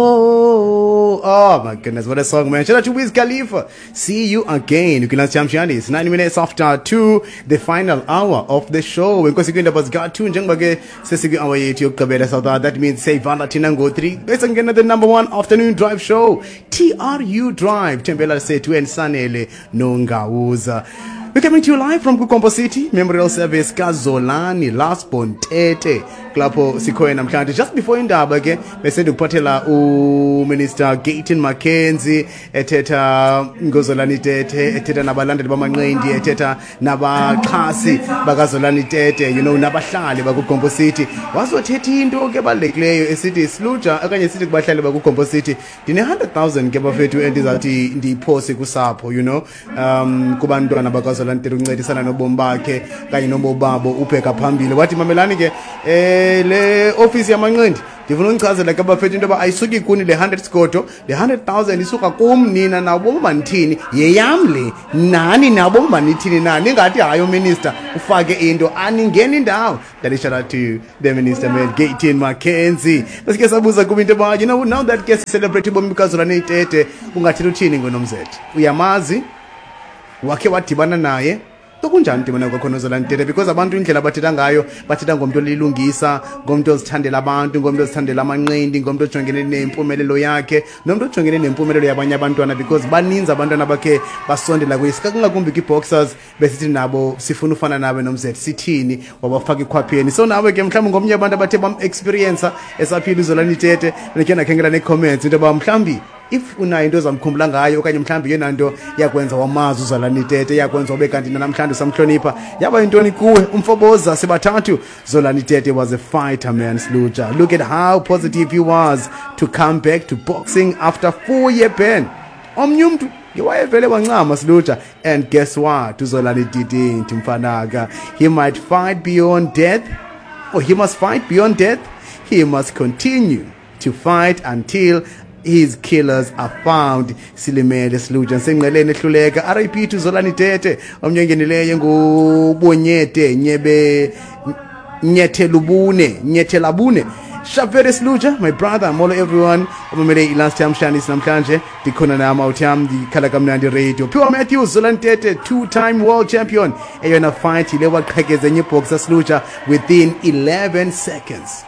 Oh my goodness, what a song, man. Shout out to Wiz Khalifa. See you again. Ukilansi Chamshani. It's 9 minutes after 2, the final hour of the show. Inkosi kwindaba zika-2 njengoba ke sesikwi-hour yethu yokugqibela South That means seyivala thina ngo-3 bese ngena the number one afternoon drive show, TRU Drive. Thembela sethu and Sanele Nongawuza. We're coming to you live from KuGompo City Memorial Service kaZolani Lastborn Tete. Kulapho sikhoyo namhlanje. Just before indaba ke bese ndikuphathela uMinister Gayton McKenzie ethetha ngoZolani Tete, ethetha nabalandeli bamanqindi, ethetha nabaxhasi bakaZolani Tete, nabahlali bakuGompo City. Wazothetha into ke balulekileyo esithi siluja okanye sithi kubahlali bakuGompo City, ndine 100,000 ke bafethu endizathi ndiyiphose kusapho, kubantwana bakaZolani Tete ukuncedisana nobomi bakhe kanye nobomi babo ubheka phambili. Wathi mamelani ke, le office yamanqindi ndifuna undichazela ke bafethu into yoba ayisuki kuni le 100 sigodo, le 100,000 isuka kum. Nina nabo manithini, yeyam le, nani nabo manithini na ningathi hayi uminister ufake into aningeni indawo. That is shout out to the minister, man, Gayton McKenzie. Besike sabuza kuba into yoba now that ke celebrate ubomi bukaZolani Tete, ungathetha uthini ngonomzethe? Uyamazi? Wakhe wadibana naye? Kunjani udibana kwakho noZolani Tete? Because abantu indlela abathetha ngayo, bathetha ngomntu olilungisa, ngomntu ozithandela abantu, ngomntu ozithandela amanqindi, ngomntu ojongene nempumelelo yakhe, nomntu ojongene nempumelelo yabanye abantwana, because baninzi abantwana bakhe basondela kuye, ngakumbi kwi-boxers, besithi nabo sifuna ufana nawe nomzethe, sithini, wabafaka ikhwapheni. So nawe ke mhlawumbi ngomnye abantu abathe bam-experienca esaphila uZolani Tete, ndikhe ndakhangela nee-comments into yoba mhlawumbi if unayo into ozamkhumbula ngayo okanye mhlawumbi yeyona nto yakwenza wamazi uZolani Tete, yakwenza ube kanti namhlanje usamhlonipha, yaba yintoni kuwe? Umfoboza sibathathu, Zolani Tete was a fighter, man. Sluja, look at how positive he was to come back to boxing after 4-year ban. Omnye umntu ngewayevele wancama, Sluja, and guess what? UZolani didn't, mfanaka. He might fight beyond death, or he must fight beyond death. He must continue to fight until his killers are found. Silimele siluja senqeleni ehluleka. RIP to Zolani Tete. Omnye ongenileyo ngubonyete nyebe nyethelubune nyethelabune. Shavere Sluja, my brother, molo everyone. Omamele i-last time shanis namhlanje. Ndikhona nam awutham ndikhala kamnandi radio. Pure Matthews, Zolani Tete, two-time world champion. Eyona fight ile waqhekeza enye boxer, Sluja, within 11 seconds.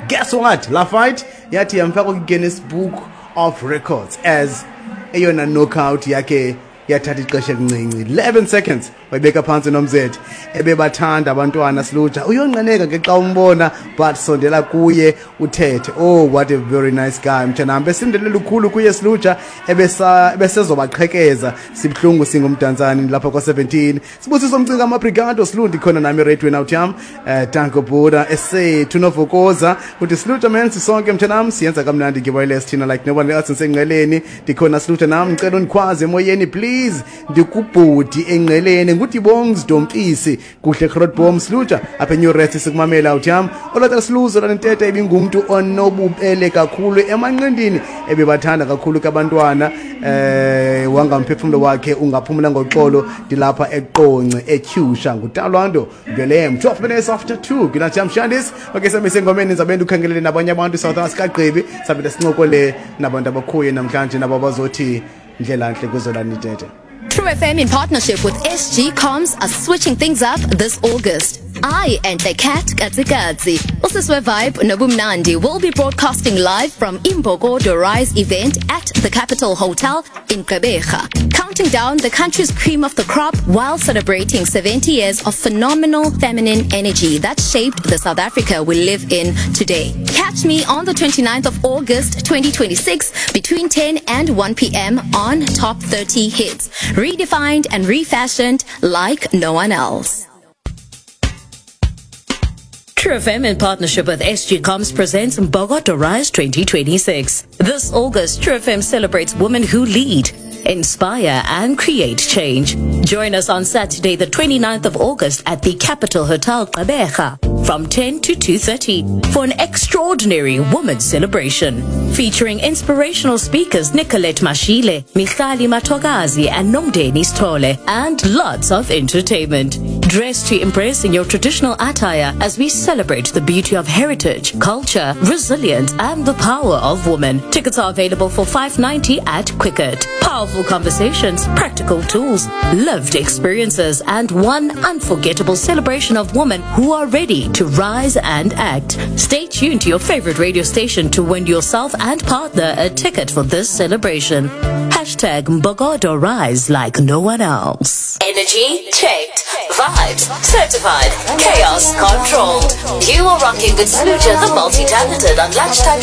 Guess what? La fight yathi yamfaka kwi-Guinness Book of Records as eyona knockout yakhe yathatha ixesha elincinci, 11 seconds wayibeka phantsi nomzethe. Ebebathanda abantwana, silutsha. Uyonqeneka ke xa umbona, but sondela kuye uthethe. Oh, what a very nice guy, mtshanam. Besindele lukhulu kuye, silutsha, ebesezobaqhekeza. Sibuhlungu singumdantsane lapha kwa-17. Sibusiso Mcinga Amabrigado silundi khona nami eradweni out yam. Danko Buda esethu novokoza uthi silutsha man, sisonke mtshanam, siyenza kamnandi nge-wireless thina like no one else. Ngisengqeleni ndikhona silutsha nam, ngicela undikhwaze emoyeni please, ndikubhudi engqeleni ngudibongs dompisi kuhle Grootboom. Silutsha apha eNew Rest sikumamela out yam. Olata siluzo lanentete ibingumntu onobubele kakhulu emanqindini, ebebathanda kakhulu kabantwana, wangamphefumlo wakhe ungaphumula ngoxolo. Ndilapha eQonce eTyusha, ngutalwando Velem. 12 minutes after 2 kina Shandis. Okay, sabe sengomeni ndizabe ndikhangelele nabanye abantu South Africa gqibi sabe sincokole nabantu abakhuye namhlanje nabo bazothi ndlela nhle kuZolani Tete. True FM in partnership with SG Comms are switching things up this August. I and the cat Katsikatsi, Usiswe Vibe Nobumnandi will be broadcasting live from Imbokodo Rise event at the Capital Hotel in Gqeberha, counting down the country's cream of the crop while celebrating 70 years of phenomenal feminine energy that shaped the South Africa we live in today. Catch me on the 29th of August 2026 between 10 and 1 p.m. on Top 30 Hits. Redefined and refashioned like no one else. True FM in partnership with SG Comms presents Mbokodo Rise 2026. This August, True FM celebrates women who lead, inspire and create change. Join us on Saturday, the 29th of August at the Capital Hotel Gqeberha from 10 to 2:30 for an extraordinary women's celebration featuring inspirational speakers Nicolette Mashile, Michali Matogazi and Nomdeni Stole, and lots of entertainment. Dress to impress in your traditional attire as we celebrate the beauty of heritage, culture, resilience, and the power of women. Tickets are available for 5.90 at Quicket. Powerful conversations, practical tools, lived experiences, and one unforgettable celebration of women who are ready to rise and act. Stay tuned to your favorite radio station to win yourself and partner a ticket for this celebration. Hashtag Mbogodo Rise like no one else. Energy checked. Vibes certified. Chaos controlled. You are rocking with Smooja the multi-talented on Lunchtime